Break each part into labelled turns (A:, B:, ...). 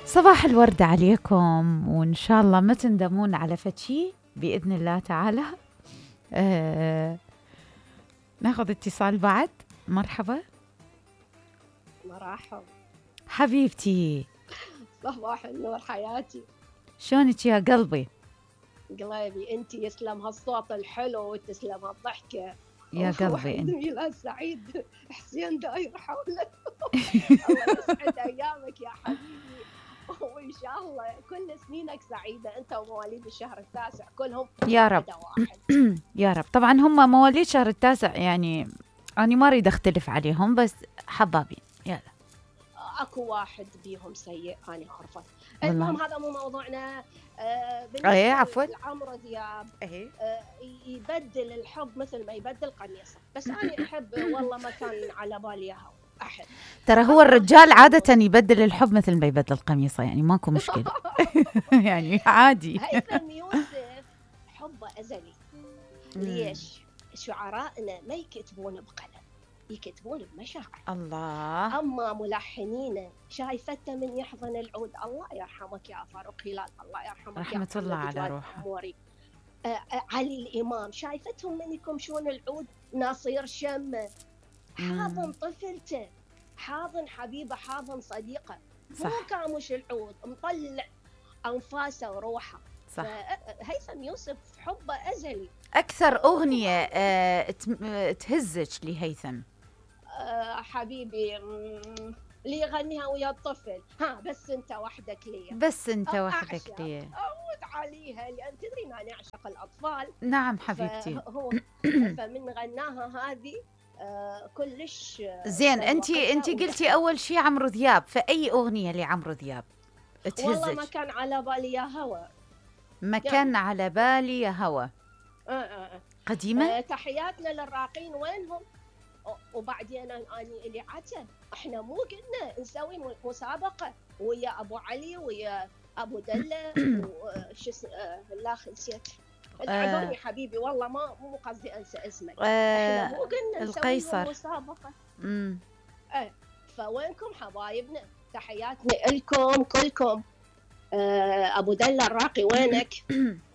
A: صباح الورد عليكم، وإن شاء الله ما تندمون على فتشي بإذن الله تعالى. ناخذ اتصال بعد. مرحبا.
B: مرحبا
A: حبيبتي،
B: صباح النور حياتي.
A: شلونك يا قلبي؟
B: قلبي انتي، يسلم هالصوت الحلو وتسلم هالضحكة
A: يا قلبي انت.
B: زميلها السعيد حسين داير حوله. الله يسعد ايامك يا حبيبي، وان شاء الله كل سنينك سعيدة انت ومواليد الشهر التاسع كلهم
A: يا رب. يا رب. طبعا هم مواليد شهر التاسع، يعني أنا ما أريد أختلف عليهم، بس حبابين. يلا،
B: اكو واحد بيهم سيء انا عارفه. المهم هذا مو موضوعنا.
A: ايه عفوا.
B: عمرو دياب
A: ايه
B: يبدل الحب مثل ما يبدل قميصه، بس انا احب والله ما كان على بالي هو احد.
A: ترى هو الرجال عادة يبدل الحب مثل ما يبدل قميصه، يعني ماكو مشكلة. يعني عادي.
B: هيثم يوسف حبه ازلي. ليش؟ شعرائنا ما يكتبون بقلم، يكتبون بمشاعر.
A: الله.
B: أما ملحنين شايفته من يحضن العود. الله يرحمك يا فاروق هلال، الله يرحمك.
A: رحمة الله على روحه.
B: علي الإمام شايفتهم من يكمشون العود. ناصير شم حاضن طفلته، حاضن حبيبه، حاضن صديقه. مو كامش العود، مطلع أنفاسه وروحه.
A: صح.
B: هيثم يوسف حبه أزلي.
A: أكثر أغنية تهزك لهيثم؟
B: حبيبي اللي يغنيها ويا الطفل، بس انت وحدك لي.
A: بس انت وحدك لي.
B: اعود عليها لان تدري ما نعشق الاطفال.
A: نعم حبيبتي.
B: هو فمن غناها هذه كلش
A: زين. انت قلتي اول شيء عمرو دياب، فاي اغنيه لعمرو دياب تهزك؟
B: والله ما كان على بالي يا هوى.
A: ما كان على بالي يا هوى. قديمه.
B: تحياتنا للراقين، وينهم؟ وبعدين أنا اللي عتب، احنا مو قلنا نسوي مسابقة ويا أبو علي ويا أبو دلة وش لا نسيت. اعذرني حبيبي والله مو قصدي أنسى اسمك. احنا مو قلنا نسوي مسابقة. فوينكم حبايبنا؟ تحياتنا لكم كلكم. أبو دلة الراقي وينك؟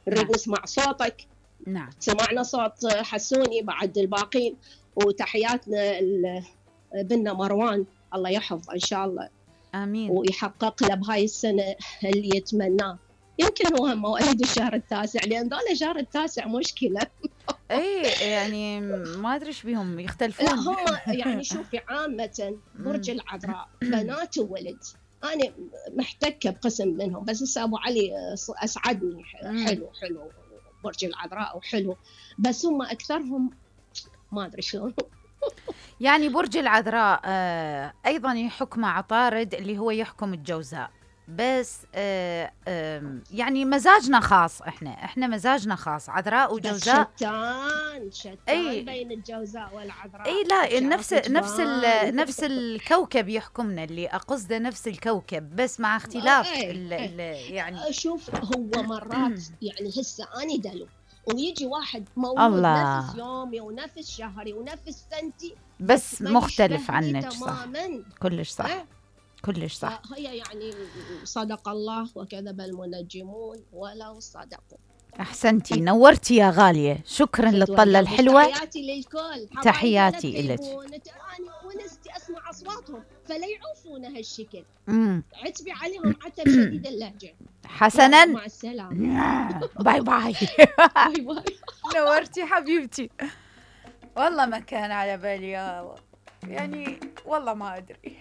B: نريد نسمع صوتك.
A: نعم.
B: سمعنا صوت حسوني بعد الباقين. وتحياتنا بنا مروان، الله يحفظه إن شاء الله.
A: آمين.
B: ويحقق له بهاي السنة اللي يتمناه. يمكن هو مواليد الشهر التاسع، لأن ذولا شهر التاسع مشكلة.
A: إيه يعني ما أدري إيش بيهم يختلفون.
B: لا هم يعني شوفي عامة برج العذراء بنات وولد. أنا محتكة بقسم منهم، بس هسه أبو علي أسعدني. حلو برج العذراء وحلو، بس هم أكثرهم ما أدري شلون.
A: يعني برج العذراء أيضا يحكم عطارد اللي هو يحكم الجوزاء، بس يعني مزاجنا خاص. احنا مزاجنا خاص، عذراء وجوزاء.
B: شتان بين الجوزاء والعذراء.
A: اي لا، نفس الكوكب يحكمنا، اللي أقصده نفس الكوكب بس مع اختلاف يعني.
B: شوف هو مرات يعني هسه أنا دلو ويجي واحد مولود نفس يومي ونفس شهري ونفس سنتي،
A: بس مختلف عنك. صح، كلش صح. كلش صح.
B: هي يعني صدق الله وكذب المنجمون ولو صدقوا.
A: أحسنتي، نورتي يا غالية. شكرا للطلة الحلوة.
B: تحياتي للكل.
A: تحياتي إلك.
B: ونستي أسمع أصواتهم فلا يعوفون هالشكل. عتبي عليهم عتب شديد اللهجة.
A: حسنا،
B: مع السلامة.
A: باي باي.
B: باي باي.
A: نورتي حبيبتي. والله ما كان على بالي يعني والله ما أدري.